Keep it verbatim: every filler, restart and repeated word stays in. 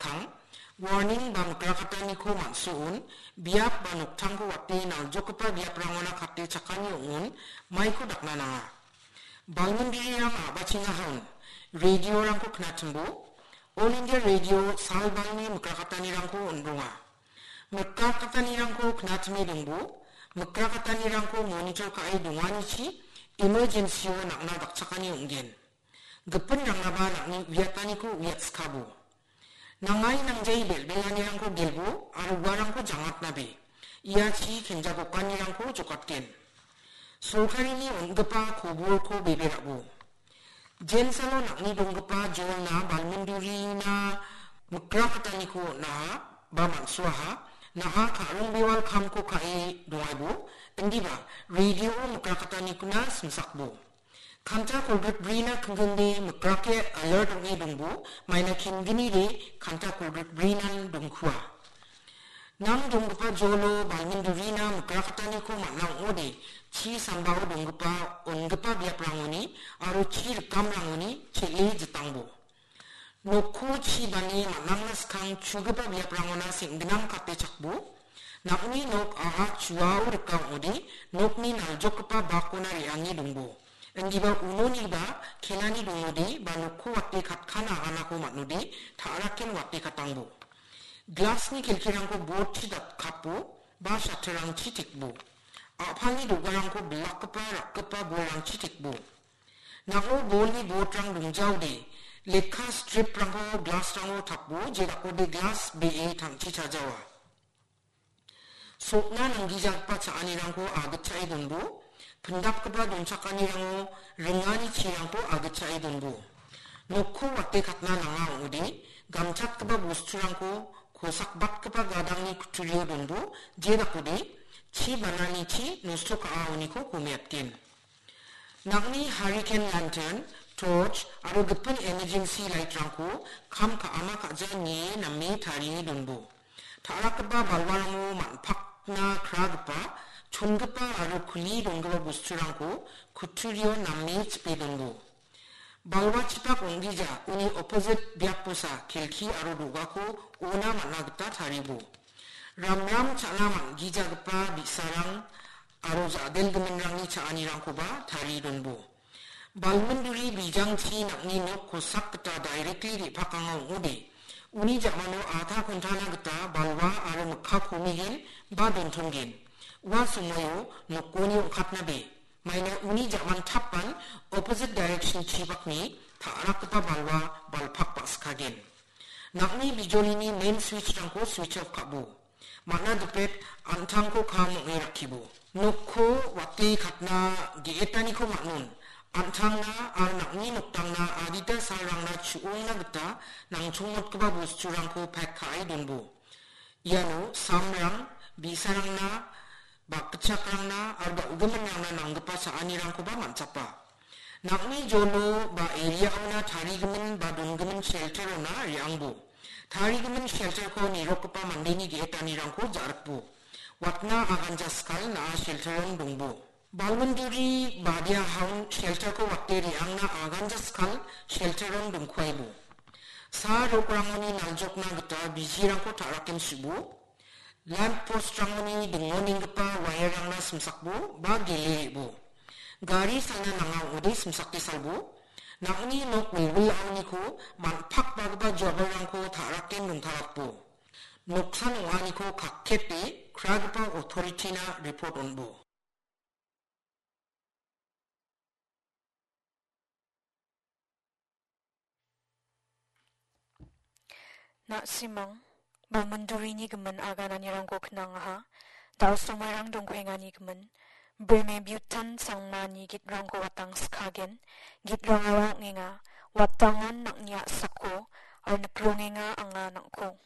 Tang, warning ba mikrakataniko man·suon, biap ba noktangko wate naljokgipa biaprangona kate chakani ong·on, maiko dakna nanga. Balmindurang a·bachenga haun, radiorangko knatimbo, All India Radio salbalni mikrakatanirangko on·ronga. Mikrakatanirangko knatime dongbo, mikrakatanirangko monitor ka·e donganichi emergency-o nang·na dakchakani ong·gen. Gipin rangnaba nang·ni uiataniko uiatskabo. Nangai nangjai bel·belanirangko gelbo aro uarangko jangatnabe. Iachi kenjagokanirangko jokatgen. Sorkarini on·gipa koborko beberabo. Jensalo nang·ni donggipa jolna balmindurina mikrakataniko on·aha ba man·suaha. Naha ka·rongbewal kamko ka·e dongaibo. Indiba radio mikrakataniko na simsakbo. Kanta kolgrik brina kingkingde mikrake alert ong·e dongbo, maina kingginide kanta kolgrik brinan dongkua. Nang donggipa jolo balmindurina mikrakataniko man·a ong·ode, chi sambao donggipa on·gipa biaprangoni aro chi rikamrangoni chel·e jitangbo. Nokko chi bane man·angna skang chugipa biaprangona seng·ginang kate chakbo. Nang·ni nok a·a chuao rika ong·ode, nokni naljokgipa bakona re·ange dongbo. Indiba unoniba kenani dongode, ba nokko wate katkan aganako man·ode, ta·raken wate katangbo. Glasni kelkirangko botchi datkapo, ba shatterrangchi tekbo. A·palni do·garangko bilakgipa rakgipa bolrangchi tekbo. Nang·o bolni botrang dongjaode, lekka striprangko glasrango tapbo, jedakode glas be·e tangchi chajawa. Sokna nanggijagipa cha·anirangko agitchae donbo, pindapgipa donchakanirango ringani chirangko agitchae donbo. Nokko wate katna nanga ong·ode, gamchatgipa bosturangko kosakbatgipa gadangni kutturio donbo, jedakode chi bananichi nosto ka·aoniko komeatgen. Nang·ni hurricane lantern, torch aro gipin emergency light-rangko kam ka·ama ka·ja nie name tarie donbo. Ta·rakgipa balwarango man·pakna kragipa, chongipa aro kuli donggipa bosturangko kutturio name chipe donbo. Balwa chipak ong·gija uni opposite biapbosa kelki aro do·gako ona man·a gita taribo. Ramram cha·na man·gijagipa bi·sarang aro ja·delgiminrangni cha·anirangkoba tarie donbo. Balminduri bijangchi nang·ni nok kosak gita directly re·pakanga ong·ode, uni ja·mano adha kontana gita balwa aro mikka komigen ba dontonggen. Ua somoio nokoni ong·katnabe, maina uni ja·man tapan opposite direction chibakni ta·rakgipa balwa balpak ba·sikagen. Nang·ni bijolini main switch-rangko switch off ka·bo. Man·a dipet an·tangko kam ong·e rakkibo. Nokko wate katna ge·etaniko man·on. An·tangna aro nang·ni noktangna adita salrangna chu·ongna gita nangchongmotgipa bosturangko pack ka·e donbo. Iano samrang, bi·sarangna, bakgitchakrangna aro dal·giminrangna nanggipa cha·anirangkoba man·chapa. Nang·ni jolo ba area-ona tarigimin ba dongimin shelter-ona re·angbo. Tarigimin shelter-ko nirokgipa mandeni ge·etanirangko ja·rikbo. Watna aganjaskal na·a shelter-on dongbo. Balminduri badia haun shelter-ko wate re·angna aganjaskal shelter-on dongkuaibo. Sa rokrangoni naljokna gita bijirangko ta·raken su·bo. Lamp post-rangoni dingonenggipa wire-rangna simsakbo ba gele re·bo. Gari salna nanga ong·ode simsake salbo. Nang·ni nok wilwilaoniko man·pakbagipa jogalrangko ta·raken dongtarakbo. Noksan ong·aniko kakkete kragipa authority-na report on·bo. Na·simang, balmindurini gimin agananirangko knangaha, da·somairang dongkuengani gimin, breme butan sangmani gitrangko watang skagen, gitrangara ong·enga, watangan nang·ni a·sako, aro nikrongenga anga nang·ko.